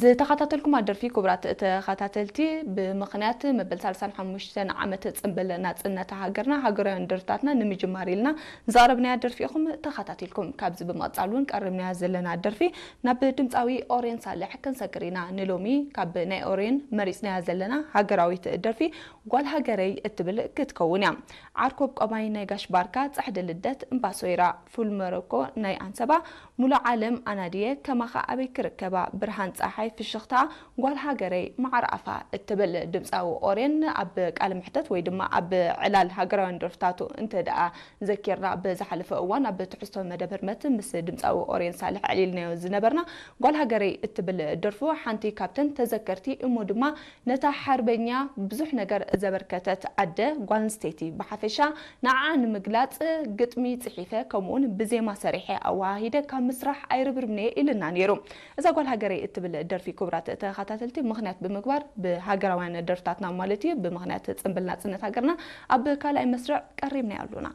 ዝተኸታተልኩም ኣደርፊ ክቡራት ተኸታተልቲ፣ ብምኽንያት መበል ሰላሳን ሓሙሽተን ዓመት ጽንብል ናጽነት ሃገርና ሃገራውያን ደርፍታትና ንምጅማር ኢልና ዝቐረብናያ ደርፊ ኢኹም ተኸታቲልኩም። ካብዚ ብምቕጻል እውን ቀሪብናያ ዘለና ደርፊ ናብ ድምጻዊ ኦሬን ሳልሕ ክንሰግር ኢና። ንሎሚ ካብ ናይ ኦሬን መሪጽናያ ዘለና ሃገራዊት ደርፊ ጓል ሃገረይ እትብል ክትከውን እያ። ዓርኮብ ቀማይ ናይ ጋሽ ባርካ፣ ጻሕዲ ልደት እምባሶይራ፣ ፉል መረኮ ናይ ኣንሰባ፣ ሙሉ ዓለም ኣናድየ፣ ከማኻ ኣበይ ክርከባ፣ ብርሃን ጸሓይ ፍሽኽታ፣ ጓል ሃገረይ መዓር ኣፋ እትብል ድምጻዊ ኦሬን ኣብ ቃለ መሕተት ወይ ድማ ኣብ ዕላል ሃገራውያን ደርፍታቱ እንተ ደኣ ዘኪርና፣ ብዝሓለፈ እዋን ኣብ ትሕዝቶ መደብ ህርመት ምስ ድምጻዊ ኦሬን ሳልሕ ኣዕሊልናዮ ዝነበርና፣ ጓል ሃገረይ እትብል ደርፉ ሓንቲ ካብተን ተዘከርቲ እሞ ድማ ነታ ሓርበኛ ብዙሕ ነገር ዘበርከተት ኣደ ጓል ኣንስተይቲ ብሓፈሻ ንዓኣ ንምግላጽ ግጥሚ ጽሒፈ ከምኡውን ብዜማ ሰሪሐ ኣወሃሂደ ካብ ምስራሕ ኣይርብርብን'የ ኢልና ነይሩ። እዛ ጓል ሃገረይ እትብል ደርፊ ክቡራት ተኸታተልቲ ምኽንያት ብምግባር ብሃገራውያን ደርፍታትና ማለት እዩ ብምኽንያት ጽንብል ናጽነት ሃገርና ኣብ ካልኣይ መስርዕ ቀሪብናዮ ኣሉና።